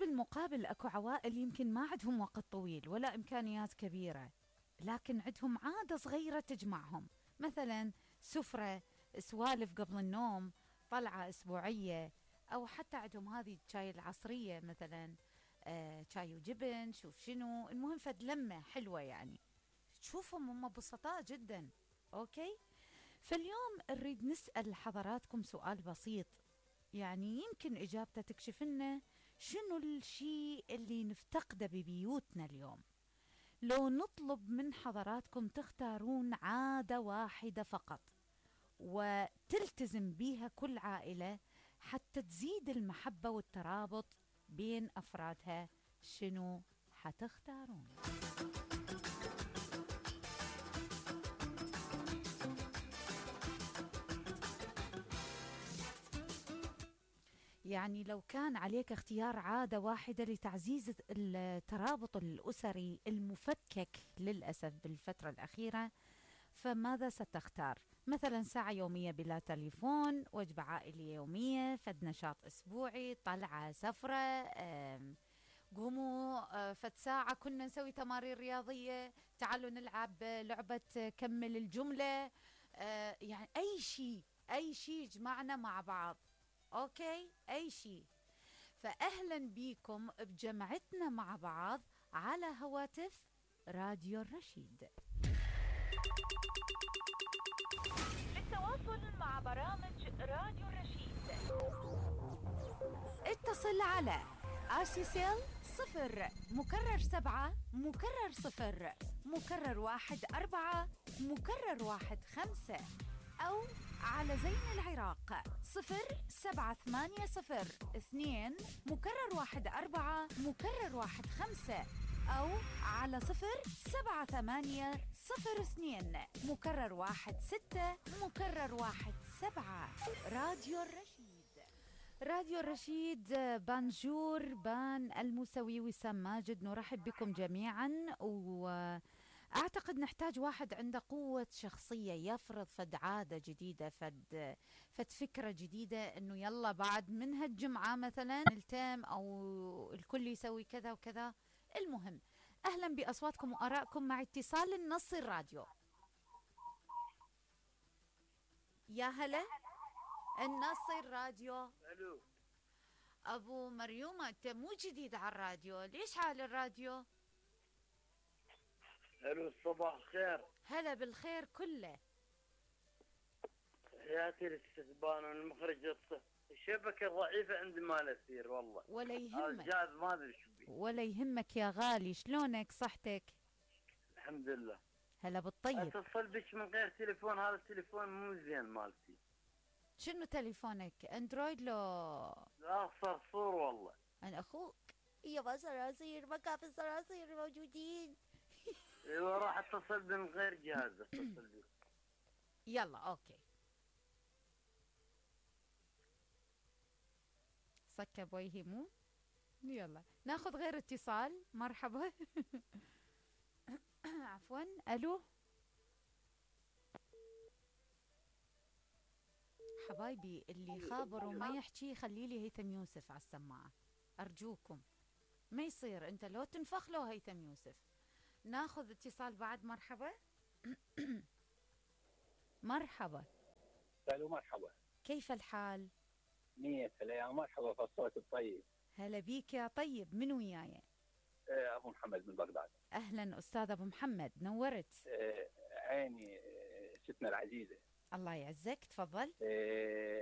بالمقابل اكو عوائل يمكن ما عندهم وقت طويل ولا امكانيات كبيرة، لكن عندهم عادة صغيرة تجمعهم، مثلا سفرة، سوالف قبل النوم، طلعة اسبوعية، او حتى عندهم هذه الشاي العصرية مثلا، شاي وجبن، شوف شنو المهم، فد لمة حلوة يعني. تشوفهم هم بسطاء جدا. اوكي، فاليوم نريد نسأل حضراتكم سؤال بسيط، يعني يمكن إجابته تكشف لنا شنو الشيء اللي نفتقده ببيوتنا اليوم. لو نطلب من حضراتكم تختارون عادة واحدة فقط وتلتزم بيها كل عائلة حتى تزيد المحبة والترابط بين أفرادها، شنو حتختارون؟ يعني لو كان عليك اختيار عادة واحدة لتعزيز الترابط الأسري المفكك للأسف بالفترة الأخيرة، فماذا ستختار؟ مثلا ساعة يومية بلا تليفون، وجبة عائلية يومية، فد نشاط أسبوعي، طلعة، سفرة، قوموا فد ساعة كنا نسوي تمارين رياضية، تعالوا نلعب لعبة كمل الجملة، يعني أي شيء يجمعنا مع بعض. أوكي، أي شيء. فأهلا بيكم بجمعتنا مع بعض على هواتف راديو الرشيد. للتواصل مع برامج راديو الرشيد اتصل على آسيسيل 0 مكرر 7 مكرر 0 مكرر 1 4 مكرر 1 5، أو على زين العراق 0780 2 مكرر 1 4 مكرر 1 5، أو على 0780 مكرر 1 6 مكرر 1 7. راديو الرشيد. راديو الرشيد، بانجور بان الموسوي وسام ماجد، نرحب بكم جميعا. وأعتقد نحتاج واحد عنده قوة شخصية يفرض فد عادة جديدة، فد فكرة جديدة، انه يلا بعد من هالجمعة مثلا نلتم او الكل يسوي كذا وكذا. المهم، اهلا باصواتكم وارائكم مع اتصال النص الراديو. يا هلا، النص الراديو. الو ابو مريومة، انت مو جديد على الراديو، ليش حال الراديو؟ الو، صباح الخير. هلا بالخير كله. حياتي الاستثبان والمخرج الشبكة ضعيفة عندي ما نسير والله. ولا يهمك، الجهاز ما ادري شو بيه. ولا يهمك يا غالي، شلونك صحتك؟ الحمد لله. هلا بالطيب. اتصل بك من غير تليفون، هذا التليفون مو زين مالتي. شنو تليفونك، اندرويد لو؟ لا، صرصور والله. انا اخوك. يابا صراصير، مكافي الصراصير موجودين. ايوه، راح اتصل من غير جهاز اتصل بك. يلا اوكي، سكب وجهي مو. يلا ناخذ غير اتصال. مرحبا. عفوا، الو حبايبي، اللي خابر وما يحكي خلي لي هيثم يوسف على السماعة ارجوكم، ما يصير انت لو تنفخ له هيثم يوسف. ناخذ اتصال بعد. مرحبا. مرحبا. الو مرحبا. كيف الحال؟ نية يا مرحبا، في الصوت الطيب. هلا بيك يا طيب، من وياي؟ ابو محمد من بغداد. اهلا استاذ ابو محمد، نورت. عيني ستنا العزيزة. الله يعزك، تفضل.